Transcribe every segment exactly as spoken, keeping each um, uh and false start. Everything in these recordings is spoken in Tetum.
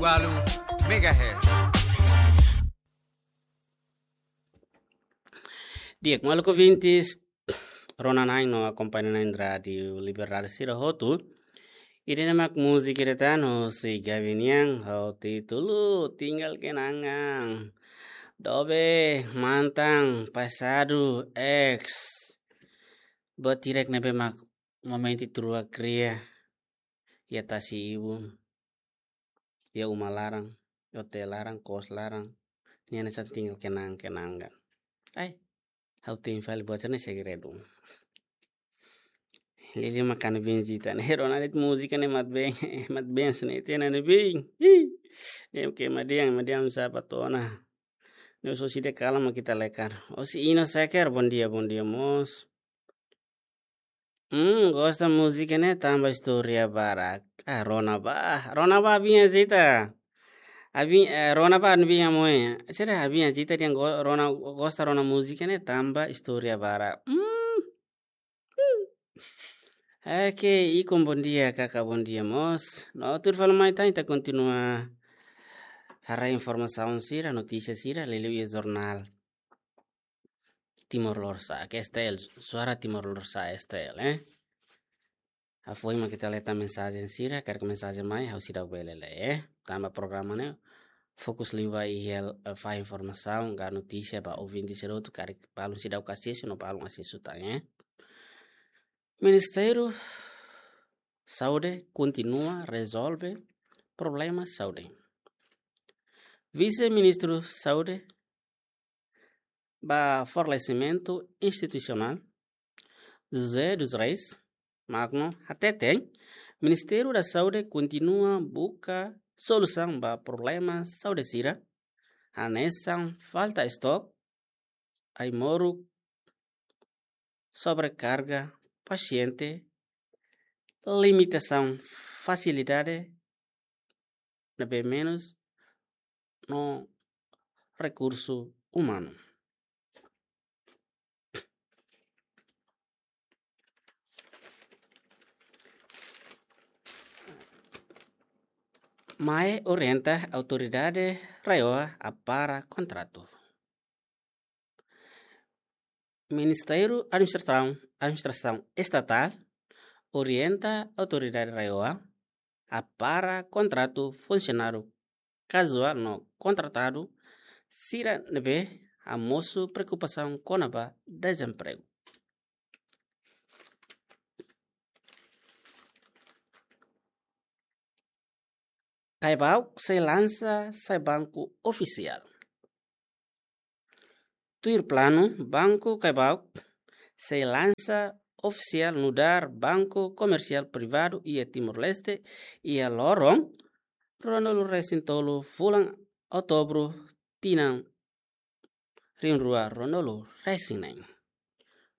walu megahertz. Di'ak, maluk ouvintes, rona-na'in no akompaña-na'in Rádiu Liberdade sira hotu. Ida-ne'e mak múzika ida tan hosi Gabi nian, ho títulu Tinggal Kenangan. Dobe, mantan, pasadu, ex. Buat hirak ne'ebé mak momentu ita rua kria, iha tasi-ibun, iha uma laran, iha hotel laran, kos laran, nia hanesan tinggal kenang-kenangan. Ai, ha'u tein fali buat sira-ne'e segredu. Lili mak ha'u-nia biin Zita ne'e, rona de'it múzika ne'e mat been, mat been sene tena ne'e biin. Ih, ne'e ke madian, madian sapa tona. Ne'e so sida kala mak ita lekar. Osi Ino Seker, bom dia, bom dia, mós. Hmm, gosta múzika ne'e tanba istória barak. Ah, rona bá, rona bá biin Zita. Abi, eh, rona bá biin Moe. Sira biin Zita dehan go-, rona, gosta rona múzika ne'e tanba istória barak. Hmm. Hmm. Oke, Ikon bom dia, Kaka bom dia, mós. No, tuir fali mai tan, ita kontinua haree informasaun sira, notísia sira, liuliu iha jornál Timor Lorosa'e, ke S T L, Suara Timor Lorosa'e S T L, eh. Hafoin mak ita lee tan mensajen sira, karik mensajen mai, ha'u seidauk bele lee, eh. Tanba programa ne'e fokus liu ba iha, eh, fahe informasaun ka notísia ba ouvinte sira hotu, karik balun seidauk asesu no balun asesu tan, eh. Ministériu Saúde kontinua rezolve problema saúde. Vise-Ministru Saúde ba Fortalesimentu Institusionál, José dos Reis Magno, hateten, Ministériu da Saúde kontinua buka solusaun ba problema saúde sira, hanesan falta estok, ai-moruk, sobrekarga pasiente, limitasaun fasilidade ne'ebé menus no rekursu umanu. MAE orienta Autoridade RAEOA a para kontratu. Ministériu Administrasaun, Administrasaun Estatál orienta Autoridade RAEOA a para kontratu funsionáriu kazuál no kontratadu sira ne'ebé hamosu preokupasaun kona-ba dezempregu. Caibauk sei lansa sai banku ofisiál. Tuir planu, Banku Caibauk sei lansa ofisiál nu'udar banku komersiál privadu iha Timor-Leste iha loron ruanulu-resin-tolu fulan Outubru tinan rihun rua ruanulu-resin-neen.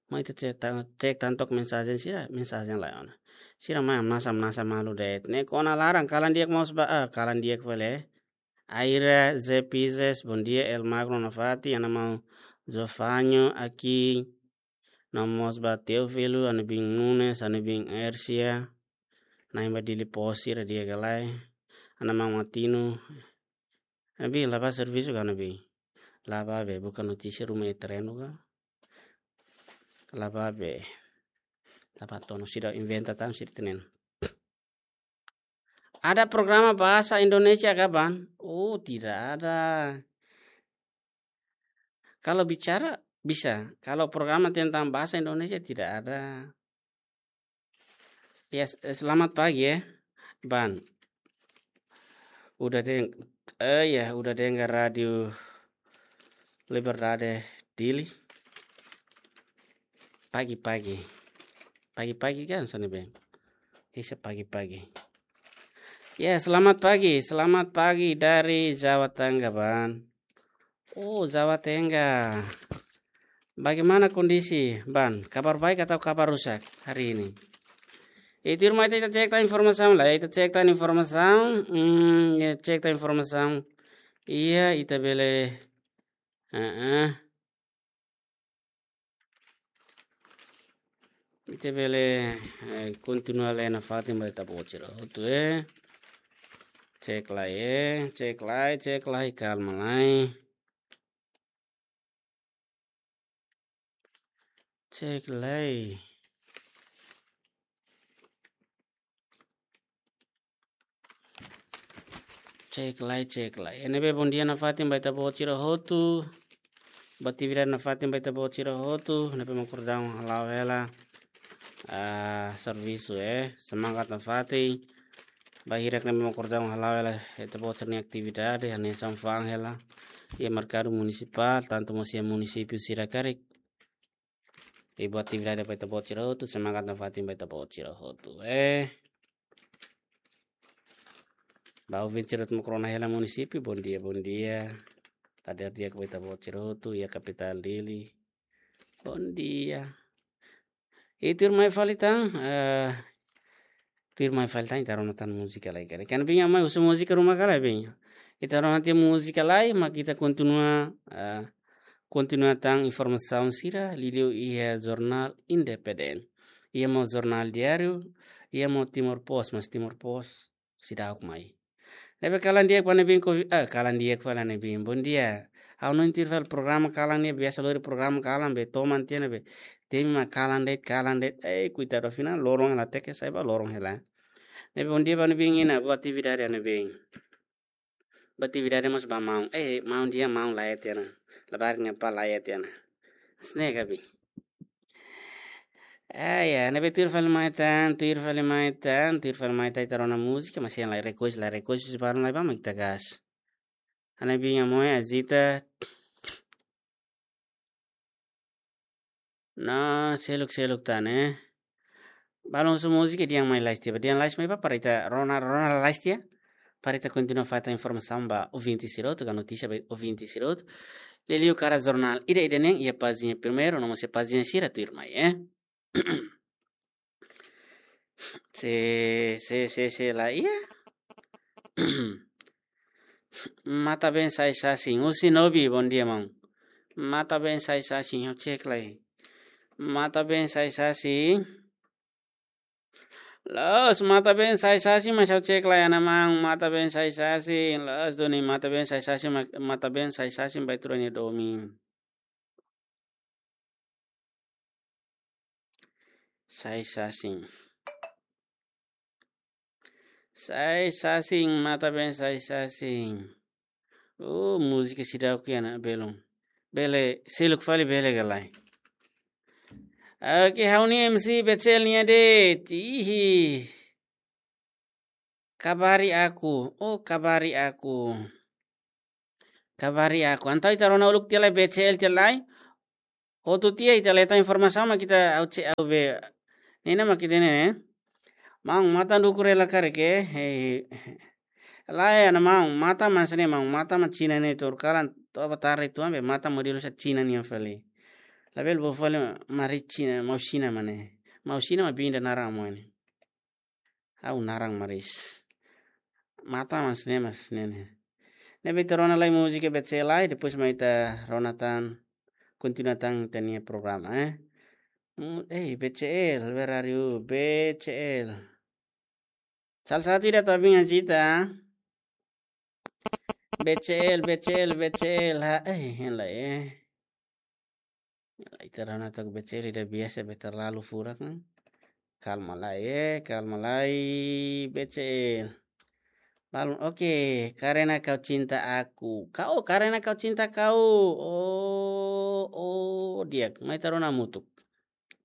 Mai ita cek tan, cek tan took mensajen sira, mensajen lain ona. Sira mai hamnasa, hamnasa malu de'it. Ne'e kona laran, kalan di'ak mós ba, ah, kalan di'ak fali. Aira Zé Pizes, bom dia, El Magno nafatin, ha'u-nia maun Jofanho, aqui, no mós ba Teófilo, ha'u-nia biin Nunes, ha'u-nia biin Ersia, na'in ba Dili Posi, ha'u-nia di'ak ka lae, ha'u-nia maun Martino, ha'u-nia biin la bá servisu ka ha'u-nia biin. La bá be, buka notísia ruma iha terrenu ka. La bá be. La bá tonu sira inventa tan sira tenen. Ada programa bahasa Indonesia kah, Ban? Oh, tidak ada. Kalau bicara, bisa. Kalau programa tentang bahasa Indonesia, tidak ada. Ya, s-, selamat pagi, ya, Ban. Udah deng-, eh, ya, udah dengar Radio Liberdade Dili? Pagi-pagi. Pagi-pagi kan, sana, Ben? Bisa pagi-pagi. Ya, selamat pagi. Selamat pagi dari Jawa Tengah, Ban. Oh, Jawa Tengah. Bagaimana kondisi, Ban? Kabar baik atau kabar rusak hari ini? Itu rumah ita, ita cek tan informasaun lai, ita cek tan informasaun, hmm, ya, cek tan informasaun. Iya, ita bele, heeh. Ita bele, eh, kontinua lee nafatin ba ita-boot sira hotu, eh. Cek lai, eh. Cek lai, cek lai. Kalma lai. Cek lai. Cek lai, cek lai. Ne'ebé bondia nafatin ba ita-boot sira hotu. Ba atividade nafatin ba ita-boot sira hotu. Ne'ebé mak kordang hala'o hela. Ah, servisu, eh. Semangat nafatin. Ba hirak ne'ebé mak kordang hala'o hela. Ita-boot sira-nia atividade, hanesan fa'an hela. Iha merkadu munisipál, tantu mós iha munisípiu sira karik. I ba atividade ba ita-boot sira hotu, semangat nafatin ba ita-boot sira hotu. Eh. Ba ouvinte sira hotu mak rona hela munisípiu, bondia, bondia. Kader di'ak ba ita-boot sira hotu, iha kapitál Dili. Bondia. I tuirmai fali tan, eh, tuirmai fali tan, ita rona tan múzika lai karik. Kan bin amai husu múzika ruma ka lae bin. Ita rona tiha múzika lai, mak ita kontinua, eh, kontinua tan informasaun sira, liuliu iha jornál Independente. Iha mós jornál diáriu, iha mós Timor Post, mas Timor Post seidauk mai. Ne'ebé kalan di'ak ba ne'ebé ko, ah, kalan di'ak fali ne'ebé. Bondia. Ha'u hanoin tuir fali programa kalan ne'e, biasa lori programa kalan be toman tiha ne'ebé. Temi mak kalan de'it, kalan de'it. Eh, koitadu, afinál loron hela, tenke sai ba loron hela. Ne'ebé bondia ba ne'ebé, ina, ba atividade ne'ebé. Ba atividade mós ba maun. Eh, maun di'ak, maun laiha tiha ona. Labarik nia apá laiha tiha ona. Hanesan ne'e ka bin. Ah, ya, ne'ebé tuir fali mai tan, tuir fali mai tan, tuir fali mai tan, ita rona múzika, mas iha lai request, lai request, se baru lai ba mak ita gas. Hanesan bin amai Azita. Nah, seluk, seluk tan, eh. Balun husu múzika, dehan mai lais tiha. Dehan lais mai ba para ita rona, rona lais tiha. Para ita kontinua fatan informasaun ba ouvinte sira hotu, ka notísia ba ouvinte sira hotu. Liuliu karik jornál ida-idak nian, iha pájina primeiru, no mós iha pájina sira tuirmai, eh. Se, se, se, se la iha. Matan-been Sai Sasin, husi Nobi, bondia maun. Matan-been Sai Sasin, ha'u cek lai. Matan-been Sai Sasin. Loos, matan-been Sai Sasin, mas ha'u cek lai ona maun, matan-been Sai Sasin. Loos duni, matan-been Sai Sasin, ma-, matan-been Sai Sasin, ba ita rua nia domin. Sai Sasin. Sai Sasin, matan-been Sai Sasin. Oh, múzika seidauk iha ona, belun. Bele, seluk fali bele ka lae. Oke, ha'u-nia M C B C L nia de'it. Ihi. Kabari aku. Oh, kabari aku. Kabari aku. Entaun ita rona uluk tiha lai B C L tiha lai. Hotu tiha ita leta informasaun mak ita au ce au be. Ne'e mak ita ne'e. Maun, matan dukur hela karik, eh. Hei. Lae, ana maun, matan mak hanesan ne'e maun, matan mak Xina ne'e tuur kalan, to'o ba tarde tuan be, matan modelu hanesan Xina nian fali. Labele bolu fali maris Xina, maun Xina mak ne'e. Maun Xina mak bin ida naran maun ne'e. Ha'u naran maris. Matan mak hanesan ne'e, mak hanesan ne'e. Ne'ebé ita rona lai múzika B C L lai, depois mai ita rona tan, kontinua tan ita-nia programa, eh. Mm, eh, B C L, where are you? B C L. Salah satu ida tabingan cita. B C L, B C L, B C L, ha, eh, hein lai, eh. Ita rona took B C L ida biasa be terlalu furak, kan? Kalma lai, eh, kalma lai, B C L. Balun, oke, Karena Kau Cinta Aku. Kau, Karena Kau Cinta Kau. Oh, oh, di'ak. Mai ita rona hamutuk.